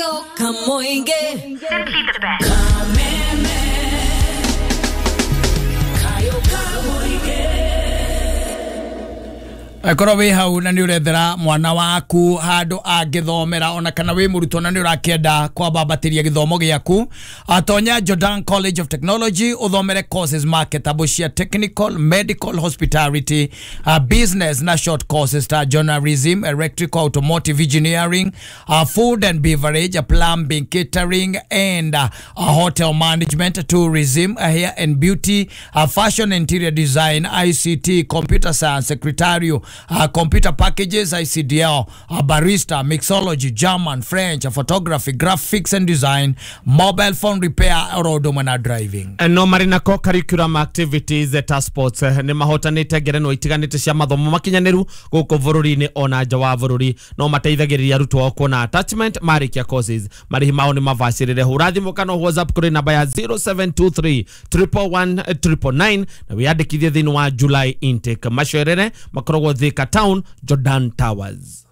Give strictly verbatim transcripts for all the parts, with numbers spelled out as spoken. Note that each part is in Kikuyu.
Kamoinge. Simply the best. Kameme. Kayo kamoinge. Akorwo wĩ hau na nĩ ũrethera mwana waku handũ angĩthomera ona kana wĩ mũrutwo na nĩ ũrakĩenda kwambambatĩria gĩthomo gĩaku, atonya Jordan College of Technology ũthomere courses marketable cia technical, medical, hospitality, uh, business na short courses ta journalism, electrical, automotive engineering, uh, food and beverage, uh, plumbing, catering and uh, uh, hotel management, tourism, uh, hair and beauty, uh, fashion, interior design, I C T, computer science, secretarial, Uh, computer packages, I C D L, uh, barista, mixology, German, French, uh, photography, graphics and design, mobile phone repair, oro na driving. No marĩ na co-curriculum activities ta sports nĩ mahotanĩte ngerenwa itiganĩte cia mathomo makinyanĩru gũkũ bũrũri-inĩ ona nja wa bũrũri. No mateithagĩrĩria arutwo ao kuona attachment marĩkia courses. Marĩhi mao nĩ mabacĩrĩre. Hũra thimũ kana WhatsApp kũrĩ namba ya zero seven two three triple one triple nine na wĩyandĩkithie thĩinĩ wa July intake. Macerere makoragwo Thika Town, Jordan Towers.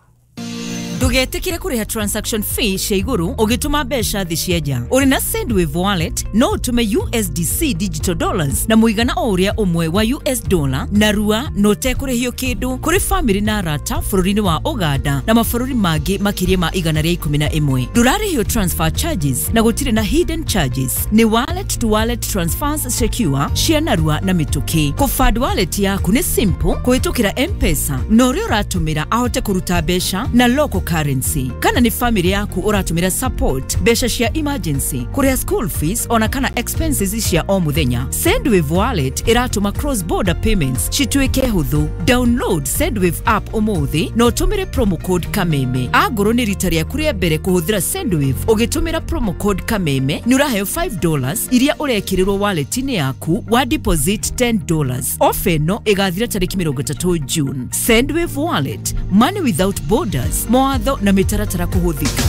Ndugetikire kuriha transaction fee cia iguru ugituma mbeca thi cia nja. Uri na Sendwave wallet no utume U S D C digital dollars na muigana o uria umwe wa U S dollar na rua no tekurihio kindu kuri family na arata bururi-ini wa Uganda na mabururi mangi makiria ma igana ria ikumi na imwe. Ndurarihio transfer charges na gutire na hidden charges. Ni wallet to wallet transfers secure cia narua na mituki. Kufund wallet yaku ni simple kuhitukira M-Pesa na uria uratumira ahote kuruta mbeca na local currency. Kana ni family yaku uratumira support mbeca cia emergency, kuria school fees ona kana expenses cia o muthenya. Sendwave wallet iratuma cross border payments cituike huthu. Download Sendwave app umuthi na utumire promo code Kameme. Angorwo ni rita riaku ria mbere kuhuthira Sendwave ugitumira promo code Kameme ni uraheo five dollars iria urekirirwo wallet-ini yaku wa deposit ten dollars. Ofa ino igathira tariki mirongo itatu June. Sendwave wallet, money without borders. Mawatho na mitaratara kuhuthika.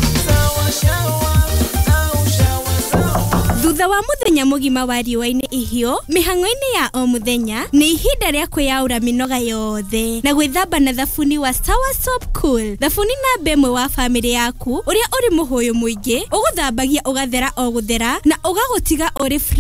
Thutha wa muthenya mugima wa riũa-inĩ ihiũ, mĩhang'o-inĩ ya o muthenya nĩ ihinda rĩa kwĩyaũra mĩnoga yothe na gwĩthamba na thabuni wa Sawa Soap Cool. Thabuni namba ĩmwe wa famĩlĩ yaku ũrĩa ũrĩ mũhũyũ mũingĩ, ũgũthambagia ũgathera o gũthera na ũgagũtiga ũrĩ fresh.